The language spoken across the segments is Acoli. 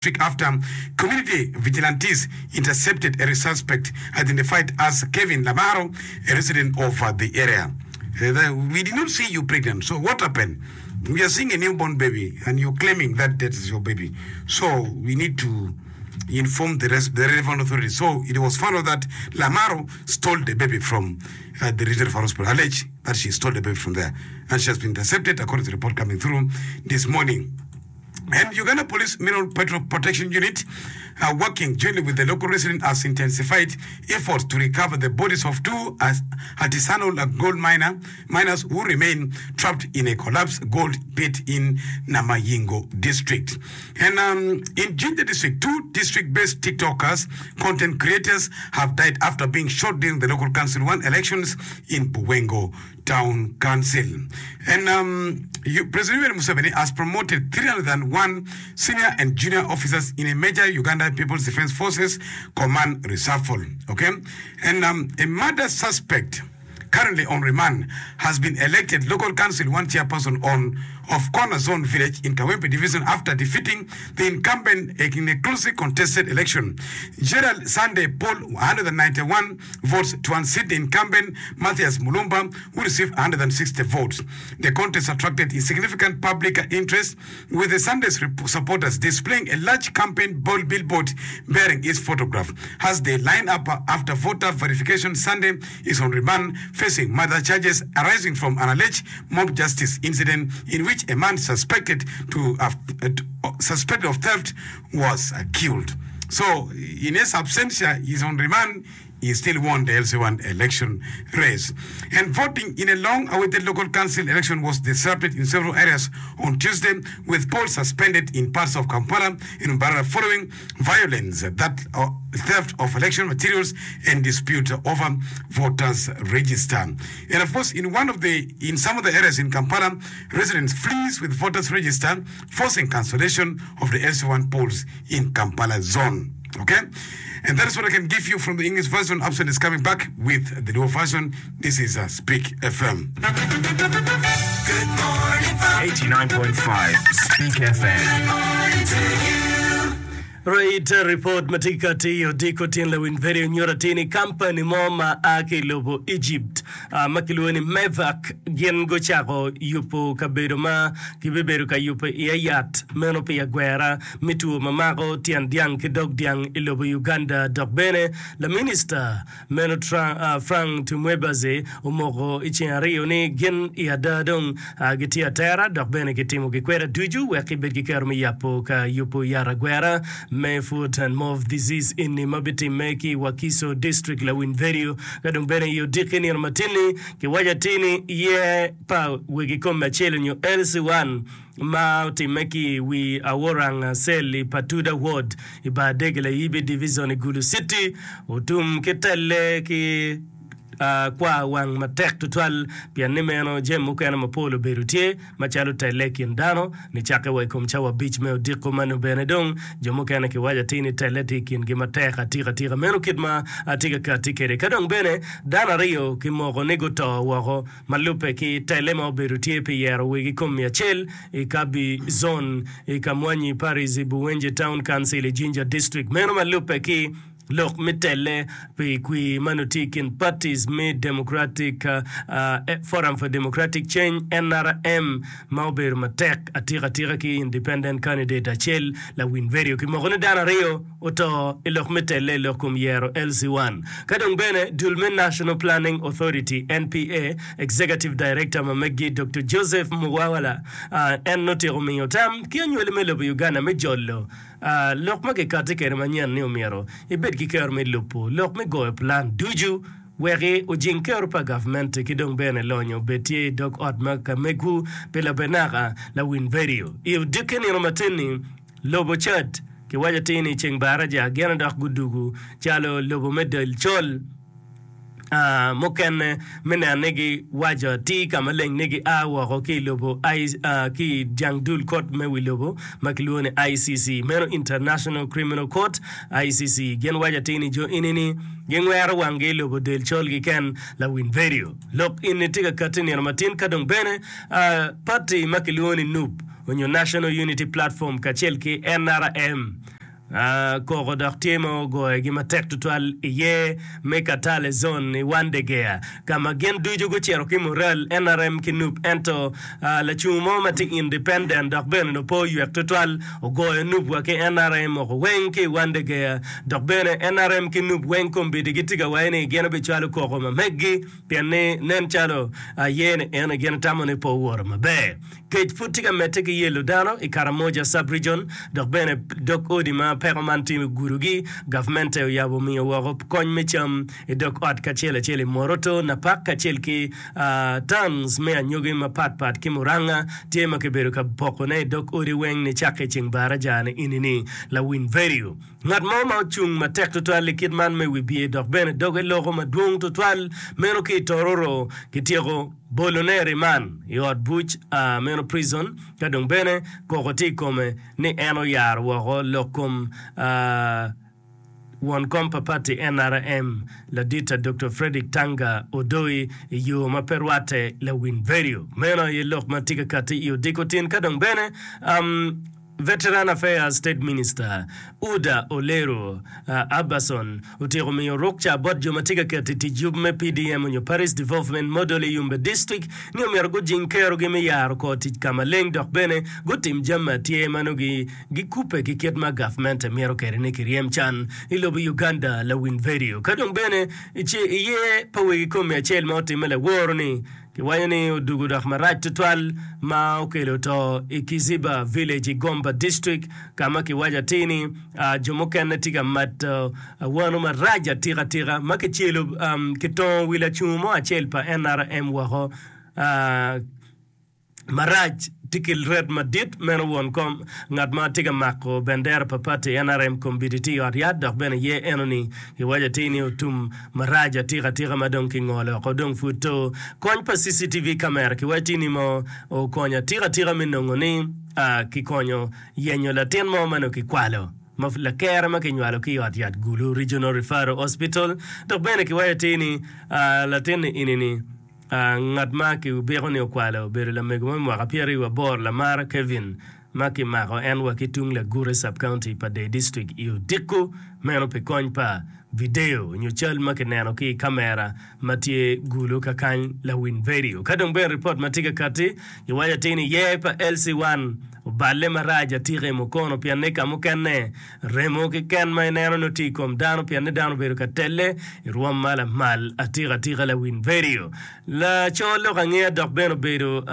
District after community vigilantes intercepted a suspect identified as Kevin Lamaro, a resident of the area. We did not see you pregnant, so what happened? We are seeing a newborn baby and you're claiming that that is your baby. So we need to inform the, res- the relevant authorities. So it was found out that Lamaro stole the baby from uh, the regional hospital, alleged that she stole the baby from there. And she has been intercepted according to the report coming through this morning. And Uganda Police Mineral Petrol Protection Unit are working jointly with the local residents has intensified efforts to recover the bodies of two artisanal gold miner, miners who remain trapped in a collapsed gold pit in Namayingo district. And um, in Jinja district, two district-based TikTokers, content creators, have died after being shot during the local council one elections in Buwengo Town Council. And um, President Yoweri Museveni has promoted 301 senior and junior officers in a major Uganda People's Defense Forces command reshuffle. Okay? And um, a murder suspect currently on remand has been elected local council one chairperson on of Corner Zone Village in Kawempe Division after defeating the incumbent in a closely contested election. Gerald Sunday polled 191 votes to unseat the incumbent Mathias Mulumba who received 160 votes. The contest attracted significant public interest with the Sunday's supporters displaying a large campaign billboard bearing its photograph. As they line up after voter verification, Sunday is on remand facing murder charges arising from an alleged mob justice incident in which a man suspected to have, uh, suspected of theft was uh, killed. So in his absentia, he's on remand. He still won the LC1 election race. And voting in a long-awaited local council election was disrupted in several areas on Tuesday, with polls suspended in parts of Kampala and Mbarara following violence that uh, theft of election materials and dispute over voters register. And of course, in one of the in some of the areas in Kampala, residents flees with voters register, forcing cancellation of the LC1 polls in Kampala zone. Okay? And that is what I can give you from the English version. Abson is coming back with the Luo version. This is uh, Speak FM. 89.5 Speak FM. Right report ma tye ka kati i odiko tin lawiny vedio nyuto atir ni kampani mo ma a ki i lobo Egypt ma kilwongo ni Mevac gin gucako yubo kabedo ma kibibedo ka yubo iye yat meno pi agwera me two ma mako tyen dyang ki dog dyang i lobo Uganda dok bene laminista Meno Frank Tumwebaze omoko i ceng aryo ni gin i ada dong gitye atera dok bene gitimo gikweda ducu wek gibed ki kero me yabo ka yubo yat agwera me Foot and Mouth Disease eni ma bitimme ki i Wakiso District Lawiny Vedio ka dong bene i odiki nino matin-ni kiwaco atir ni yer pa wegi kome acel onyo LC1 ma otimme ki i wi Aworang Cell i Patuda Ward i Bar Dege Layibi Division i Gulu City otum ki telle ki kwar wang matek tutwal pien ni meno jami mukene mapol obedo tye macalo telle i kin dano nicakke wa i kom cawa abic me odiko ma nongo bene dong jo mukene kiwaco atir ni telle tye i kingi matek atika tika meno kit ma atye ka kati kwede ka dong bene dano aryo kimoko ni guto woko Ma lubbe ki tele ma obedo tye pi yero wegi komi acel i Kabi Zone i Kamwanyi Parish i Buwenje Town Council i Jinja District. Meno ma lubbe ki lok me tele pi kwir ma nongo tye i kin parties me Democratic Forum for Democratic Change, NRM, ma obedo matek atika atika ki Independent candidate acel lawiny vedio kimoko ni dano aryo oto i lok me telle i lok kom yero LC1. Ka dong bene dul me National Planning Authority, NPA, Executive Director ma meggi Doktor Joseph Muwawala en otyeko miyo tam ki anywali me lobo Uganda me jolo lok ma kikati kwede manyen ni omyero ibed ki kero me lubo lok me goyo plan ducu wek ojing kero pa gavmenti ki dong bene lonyo obed tye i dog ot ma ka megwu pi labenaka lawiny vedio i odiki nino matin-ni. Lobo Chad kiwaco atir ni ceng baraja gin dok gudugu calo lobo me del col mukene me neno ni giwaco atir ka maleng ni gia woko ki i lobo ki i jang dul kot me wi lobo ma kilwongo ni ICC meno International Criminal Court, ICC. Gin waco atir ni jo eni-ni gingwero wanggi i lobo del col keken lawiny vedio. Lok eni tye ka katti nino matin ka dong bene pati ma kilwongo ni NUP. onyo National Unity Platform kacel ki nrm. Koko dok tye ma ogoyogi matek tutwal iye me Katale Zone i Wandegea ka ma gin ducu gucito ki mural nrm ki nup ento lacungo mo ma tye independent dok bene onongo pe oywek tutwal ogoyo nup wa ki nrm woko weng ki i Wandegea dok bene nrm ki nup weng kombeddi gitye ka waco ni gin obicwalo koko ma meggi pien ni nen calo aye ni ene gin tamo ni pe owoto maber. Kec pud tye ka medde ki yelo dano i Karamoja Sub-Region dok bene dog odi ma peko man tye gudogi. Gavmente oyabo miyo woko kony me cam i dog ot kacel acel i Moroto, Napak kacel ki towns me anyogi mapat pat ki Murang'a tye ma kibedo ka pokone i dog odi weng nicakke i ceng baraja ni enini. Lawiny vedio. Ngat mo ma ocung matek tutwal i kit man me wibye dok bene doge loko madwong tutwal meno ki i Tororo kityeko bolone i riman i ot buc meno prison ka dong bene koko tye i kome ni en oyaro woko lok kom won kom pa pati nrm Ladita Doktor Fredrick Tanga Odoi i yo ma pe rwatte lawiny vedio. Meno aye lok ma tye ka kati i odiko tin ka dong bene Veteran Affairs State Minister, Uda Oleru Aberson otyeko miyo rukca bot jo ma tye ka keto i tic yub me PDM onyo Parish Development Model i Yumbe District ni omyero gujing kerogi me yaro kor tic ka maleng dok bene gutim jami atyer ma nongo gikubbe ki kit ma gavmente mito kwede ni kiryem can i lobo Uganda lawiny vedio ka dong bene iye pa wegi komi acel ma otimme laworo ni Kiwaco ni odugo dok marac tutwal ma okelo to i Kiziba Village i Gomba District ka ma kiwaco atir ni jo mukene tye ka mato awano marac atika tika ma kicelo kitongo wi lacungo mo acel pa nrm woko. Marac tye ki ret madit meno won kom ngat ma tye ka mako bendera pa pati nrm kombeddi tye i ot yat dok bene ye eno ni kiwaco atir ni otum marac atika atika ma dong kingolo oko dong pud to kony pa CCTV camera kiwaco atir ni mo okonyo atika atika me nongo ni kikonyo yenyo latin mo ma nongo kikwalo ma lakere ma kinywalo ki i ot yat Gulu Regional Referral Hospital dok bene kiwaco atir ni latin ni ini ni Ngat ma kibiko ni okwalo obedo lamego mo me mwaka pyeraryo aboro Lamara Kevin ma kimako en wa ki tung Lagure Sub-County pa Dei District i odiko meno pi kony pa video nyo cal ma kineno ki i kamera ma tye gulu kakany lawiny vedio. Ka dong bene ripot ma tye ka katti giwaco atir ni yer pa LC1 oballe marac atika i Mukono pien ni ka mukene Remo keken ma ineno nongo tye i kom dano pien ni dano obedo ka telle i rwom ma lamal atika atika lawiny vedio. Laco lok angeya dok bene obedo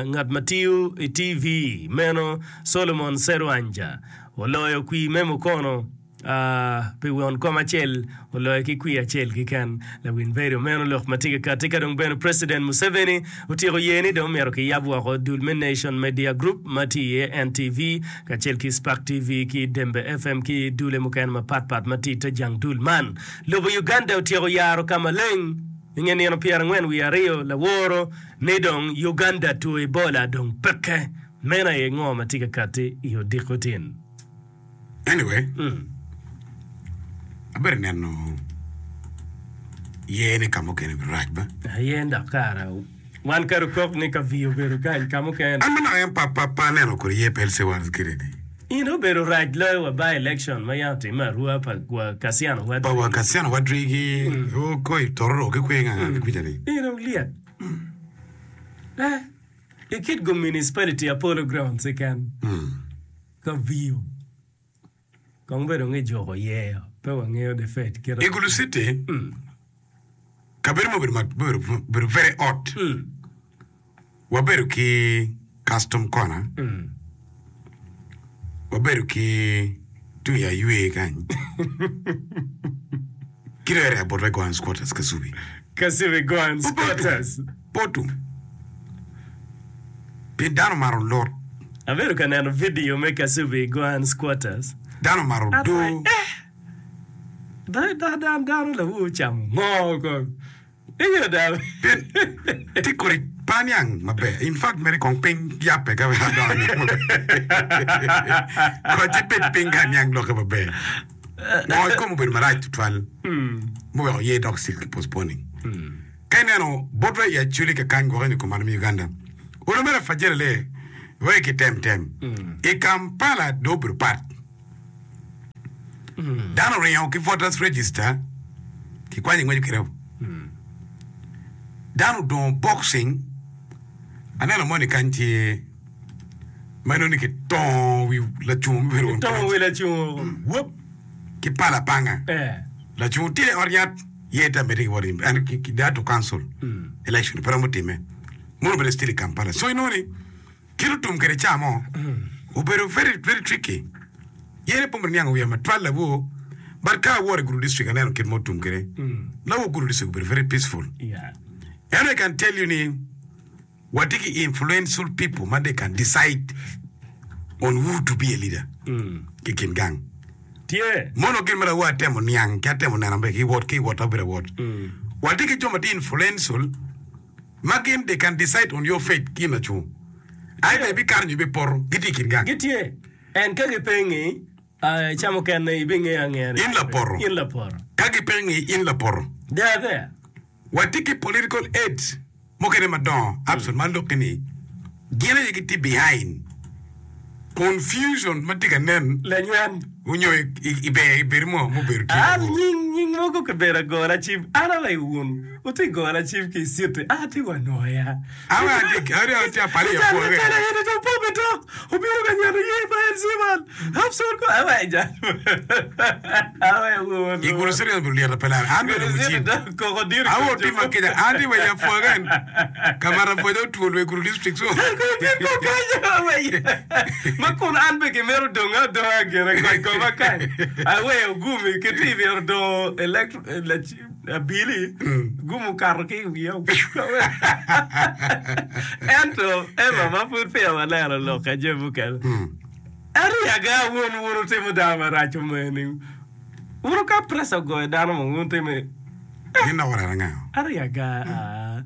ngat ma tiyo i TV meno Solomon Serwanja oloyo kwir me mukono pi won kom acel oloyo ki kwir acel keken. Lawiny vedio meno lok ma tye ka kati ka dong bene President Museveni otyeko ye ni dong myero kiyab woko dul me Nation Media Group ma tye iye NTV kacel ki Spark TV ki Dembe FM ki dule mukene mapat pat ma tye i te jang dul man. Lobo Uganda otyeko yaro ka maleng i nge nino pyerangwen wiye aryo laworo ni dong Uganda two Ebola dong peke. Meno aye ngo ma tye ka kati i odiko tin. Anyway, abedo neno yer ni ka mukene rac ba. Aye dok kara wan kadi okok ni ka vii obedo kany ka mukene. An manok en pa pa pa aneno kodi yer pe LC one kede ni. In obedo rac loyo wa by election ma yam otimme arua pa wa Kassiano Wadri. Pa wa Kassiano Wadri ki o koi Tororo ki kwe nga nga ki kwica ni. In olyet. Eh, i Kitgum municipality Apollo grounds keken. Ka viyo kong bedo ngi juko yeyo pe wangeyo the fate kite. I Gulu City, kabedo mo obedo obedo very hot. Wabedo ki custom corner, wabedo ki tung i aywe kany, ki dong area bot Goan squatters Kasubi. Kasubi Goan squatters. Poto. Pien dano omaro lot. Abedo ka neno vidio me Kasubi Goan Squatters. Dano omaro do. Eh! Dano lawu ocamo ngo kong? Inge da. Pien tye kodi pe aniang maber. In fact mere kong piny yabbe ka wek adong aniang maber. Koc ibed piny ka aniang lokke maber. Ngo i kom obedo marac tutwal muweko ye dok still ki postponing. Ka ineno botwa i Acholi kakany gwokke nyo kumalo me Uganda, olo mere Fajere lee. Wek kitem tem. I Kampala dong obedo pat. Dano oringo ki voters register kikwanyo ingweco kwede. Dano odongo boxing aneno moni kany tye ma inongo ni kitongo wi lacungo me bedo won Kitongo wi lacungo wop ki pala panga. Lacungo tye i ot yat ye te amedde ki wot and they had to cancel election pe romo time. Mono bene still i Kampala. So inongo ni kit otum kwede ca mo obedo very very tricky. Yene pe omyero niang wiya matwal lawor but ka awor i Gulu district aneno kit ma otum kwede. Lawor Gulu district obedo very peaceful. Ento I can tell you ni watye ki influential people ma they can decide on who to be a leader ki kin gang. Tye. Mono gin ma lawor atemo niang ki atemo neno maber ki wot ki wot abedo awot. Watye ki jo ma tye influential ma gin they can decide on your fate ki in lacungo either ibikato nyo ibipoto gitye i kin gang. Gitye. And ka gipengi ca mukene ibingeyo angeya ni In lapoto. In lapoto. Ka gipengi in lapoto. They are there. Watye ki political aids mukene madongo Abson ma lukki ni gin aye gitye behind confusion ma tye ka nen Lanywen. onyo i ber i bedo mo mubedo tye An nying nying mogo kibedo agora cim an aye wun wutye gora cim ki i city an atye wa nwoya. An atye atye apali Cal apwoge. cal aye ni dong pome tok obino ka nyono ye pa en Ciman Abson ko awe jal awe wun. I gulu city obedo lyet pe lar an bedo Gulu city mucim. dong koko diro Awo otima kica an tye wa i apwoge ka mato apwoja otwol wa i gulu district so. Ma kun an be kimito donga adonga gire kony koma kany aweyo gumi ki tye myero dongo abili gum okato ki i wiya ento Emma ma pud peya waneno lok ka jami mukene ariyaga wun wun wutimo dano marac omeni wun ka pressure ogoyo dano mo wun timo Gin dok oreno anga? Ariyaga aa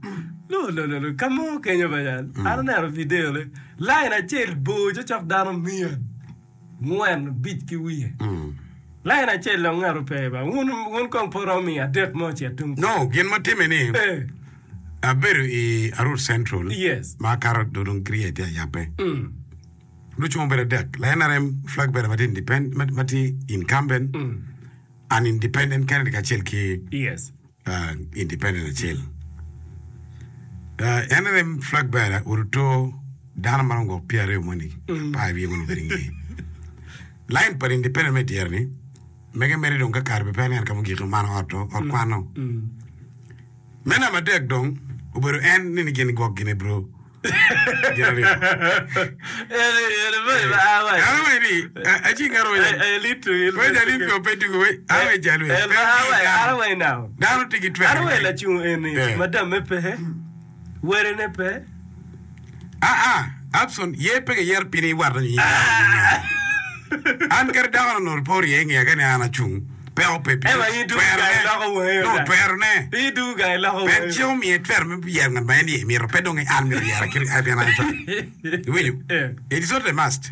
lo lo lo lo ka mo kenyo ba jal an aneno video ne line acel bor cocok dano miya ngwen abic ki wiye line acel dong ngat ope ba wun wun kong pe oromo miya adek mo ocit tung No, gin ma timme ni Eh. abedo i Arur Central Yes. ma akato dong Kriya tye ayabbe. Lucung obedo adek, la NRM flag bearer ma tye independent, ma tye incumbent, an independent candidate kacel ki Yes. uh, independent acel. Uh, NRM flag bearer oruto dano ma romo gwok pyeraryo moni apar wiye mono obedo i ngeye. Line pa independent me dyere ni mege mere dong ka kare be pe aneno ka mugik omano ot ot kwano. Me namba adek dong obedo en ni gin gwok gine bro. Gin aryo. An awaco ni, aci ngat owaco Weca ni pe pe tugo we an awaco jal we. Dano tye ki twero. An awaco lacung eni Eh. madamme pe, werene pe. Ah ah, Abson, ye pe giyero piny iwat nyo in dano. An kadi dako na onongo pe orye i ngeya ka ni an acung, peko pe pi Ema in dugu gang iloko wangi No, oda. twerone. In dugu gang iloko Pien wangi. cik omiye twero me yero ngat ma en iye mito, pe dong ni an myero yera kit pien an acwalo. Iwinjo? Eh. It is not a must.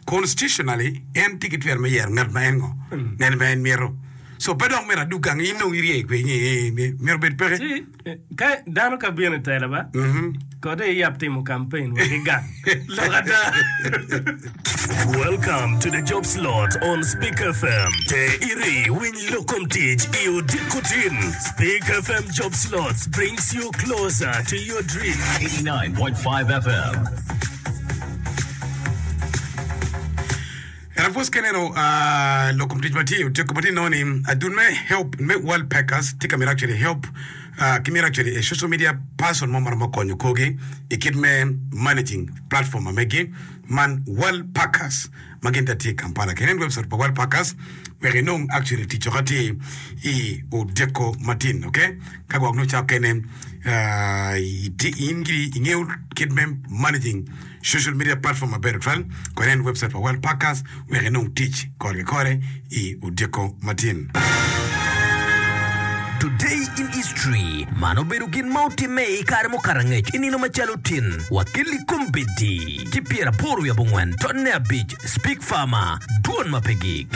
Constitutionally, en tye ki twero me yero ngat ma en ngo? Ngat ma en mito. So pe dok myero adug gang in dong irye kwe ni myero obed peke. Ci ka dano ka bino i tela ba, kode iyab timo campaign wa ki gang. Lok ada. Welcome to the job slot on Speak FM. Te iri winy lok kom tic i odiko tin. Speak FM job slots brings you closer to your dream. 89.5 FM. En apwos ka ineno lok kom tic ma tye i otyeko ma tye inongo ni adun me help me World Packers tye ka mito actually help ki mito actually a social media person mo ma romo konyo korgi i kit me managing platform ma megi man World Packers ma gin ta tye i Kampala. Ka inen website pa World Packers wek inong actually tic ka tye i odyeko matin okay ka gwok nongo ca okene in giri ingeyo kit me managing Social media platform maber tutwal, kony en website pa World Packers wek inong tic kore ki kore i odiko matin. Today in History, Man obedo gin ma otimme i kare mukato angec i nino macalo tin, wa kelli kombeddi ki pyeraboro wiye abongwen tonne abic, Speak Farmer, Dwon ma pe gik.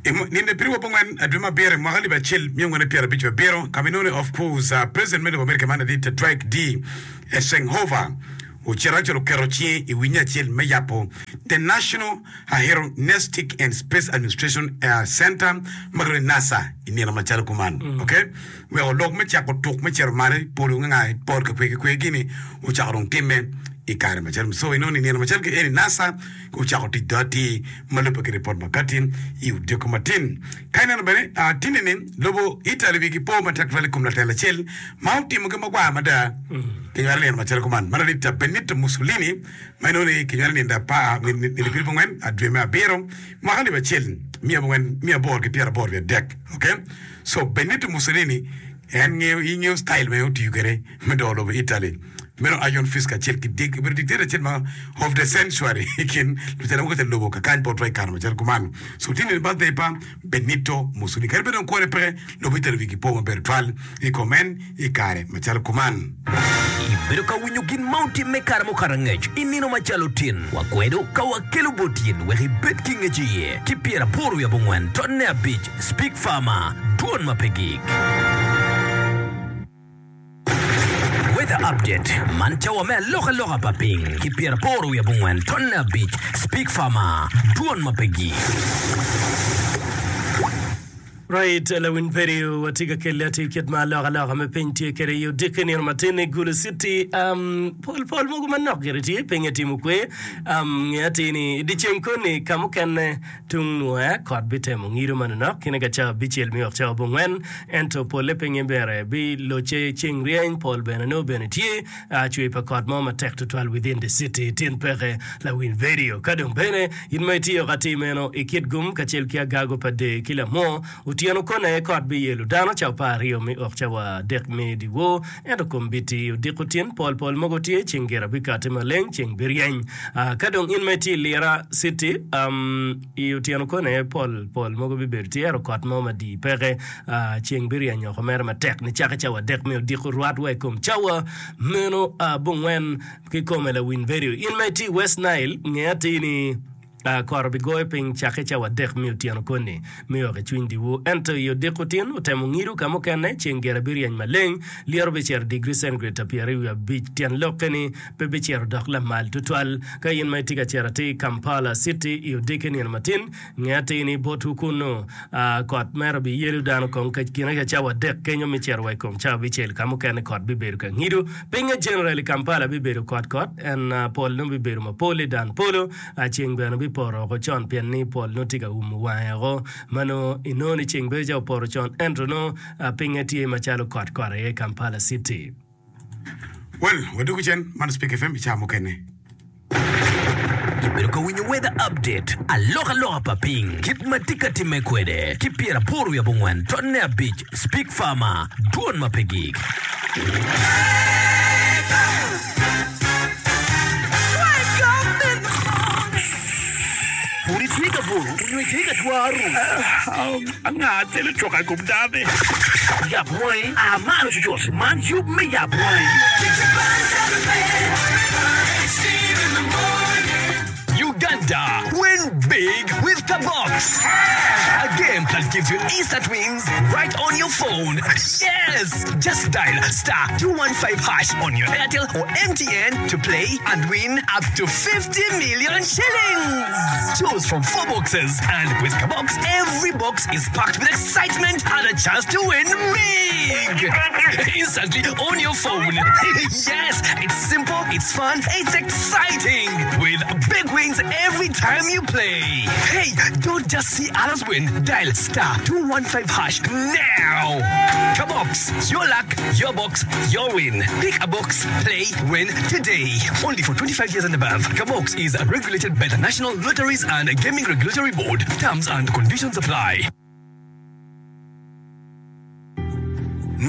I nino pyeraryo abongwen dwe me abiro i mwaka alip acel miya angwen ki pyerabic wiye abiro, ka ma inongo ni of course President me lobo America man ladit Dwight D. Eisenhower ocito acel oketo cinge i winye acel me yabo The National Aeronautic and Space Administration Center ma kilwongo ni NASA i nino macalo kuman. Okay? Weko lok me cako tuk me cito malo i polo nga nga i pol ka kwe ki kwe gini ocako dong timme i kare macalo so inongo ni nino macalo ki eni NASA ocako tic dong atir ma lubbe ki ripot ma kati i odiko matin. Ka ineno bene tinni ni lobo Italy wigi po matek tutwal i kom latel acel ma otimo gin magwar mada kinywalo nino macalo kuman ma ladit Benito Mussolini ma inongo ni kinywalo nino apar nino pyerabongwen dwe me abiro mwaka alip acel miya aboro ki pyeraboro wiye adek okay so Benito Mussolini en ngeyo ingeyo style ma en otiyo kwede me doko lobo Italy. Meno Iron Fist kacel ki Dick obedo dictator acel ma of the century i kin lutela mogo te lobo kakany botwa i kare macalo kuman. So tye nino birthday pa Benito Mussolini. Kadi bed dong kwone peke, lobo Italy wigi po maber tutwal i kom en i kare macalo kuman. Ibedo ka winyo gin ma otimme i kare mukato angec i nino macalo tin. Wakwedo ka wakelo bot in wek ibed ki ngec iye ki pyeraboro wiye abongwen tonne abic Speak Farmer, Dwon ma pe gik. Weather Update, Man cawa me alokaloka pa piny ki pyeraboro wiye abongwen tonne abic Speak Farmer, Dwon ma pe gik. Right, lawiny vedio watye ka kelle atir kit ma alokaloka me piny tye kwede i odiki nino matin i Gulu City. Um, pol pol mogo manok gire tye, pinye timo kwe. Um, nge atir ni i dyeceng koni ka mukene Tung nwoya, kot bitemo ngido manonok kine ka cawa abicel me wek cawa abongwen, ento polle pinye bene bilocce ceng ryeny, pol bene nongo bene tye cwer pa kot mo matek tutwal within the city. Tin peke lawiny vedio. Ka dong bene in ma itiyo ka atir meno i Kitgum kacel ki Agago pa Dee ki Lamwo, otyeno kone aye kot biyelo dano cawa apar aryo me ok cawa adek me dyewor, ento kombiti odiko tin pol pol mogo tye, ceng gira bikati maleng, ceng biryeny. Ka dong in ma itye i Lira City, i otyeno koni pol pol mogo bibedo tye ento kot mo madii peke. Ceng biryeny oko mere matek nicake cawa adek me odiko rwat wa i kom cawa meno abongwen kikome lawiny vedio. In ma itye i West Nile, nge atir ni Kot obigoyo piny cakke cawa adek me otyeno koni me ok i cwiny dyewor. Ento i odiko tin, otemo ngido ka mukene, ceng gire biryeny maleng, lyeto bicito digri centigrade pyeraryo wiye abic. Tyen lokke ni pe bicito dok lamal tutwal. Ka in ma itye ka cito atir i Kampala City i odiki nino matin, nge atir ni botwu kunnu kot mere obiyelo dano kong ka kine ka cawa adek kenyo me cito wa i kom cawa abicel. Ka mukene kot bibedo ka ngido. Pinye general i Kampala bibedo kot kot en pol nongo bibedo mapol i dan polo. Ceng bene bipoto oko con pien ni pol nongo tye ka umo wange oko, ma nongo inongo ni ceng bedo calo opoto con ento nongo pinye tye macalo kot kot aye i Kampala City. Well, wadwogo cen, man Speke FM i cawa mukene. Ibedo ka winyo Weather Update, alokaloka pa piny, kit ma tye ka timme kwede, ki pyeraboro wiye abongwen tonne abic, Speak Farmer, dwon ma pe gik. Pud itye ka buto onyo itye ka twaro? Anga telo coka i kom dano-ni? Yab wangi, a malo cucut! Man yub me Yab Wangi. Uganda, win big with Kabox! A game that gives you instant wins right on your phone. Yes! Just dial star 215 hash on your Airtel or MTN to play and win up to 50 million shillings. Choose from four boxes, and with Kabox, every box is packed with excitement and a chance to win big! Instantly on your phone. yes, it's simple, it's fun, it's exciting! With big wins every time you play. Hey, don't just see others win. Dial star 215 hash now. Kabox, your luck, your box, your win. Pick a box, play, win today. Only for 25 years and above. Kabox is regulated by the National Lotteries and Gaming Regulatory Board. Terms and conditions apply.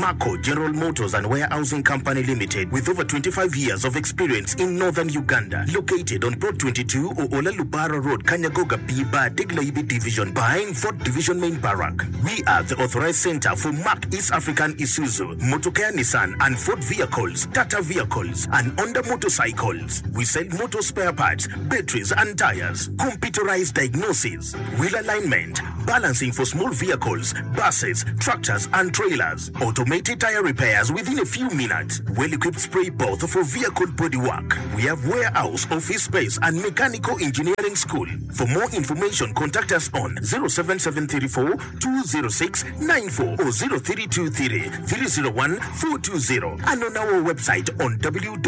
Marco General Motors and Warehousing Company Limited with over 25 years of experience in Northern Uganda located on Plot 22 Oola Lubara Road Kanyagoga B Bar Deg Layibi Division behind Fort Division Main Barrack. We are the authorized center for Mack East African Isuzu, Motokea Nissan and Ford vehicles, Tata vehicles and Honda motorcycles. We sell motor spare parts, batteries and tires, computerized diagnosis, wheel alignment, balancing for small vehicles, buses, tractors and trailers, automated tire repairs within a few minutes, well-equipped spray booth for vehicle body work. We have warehouse, office space and mechanical engineering school. For more information contact us on 07734 206 94 or 0323 301 420 and on our website on www.marco.ug.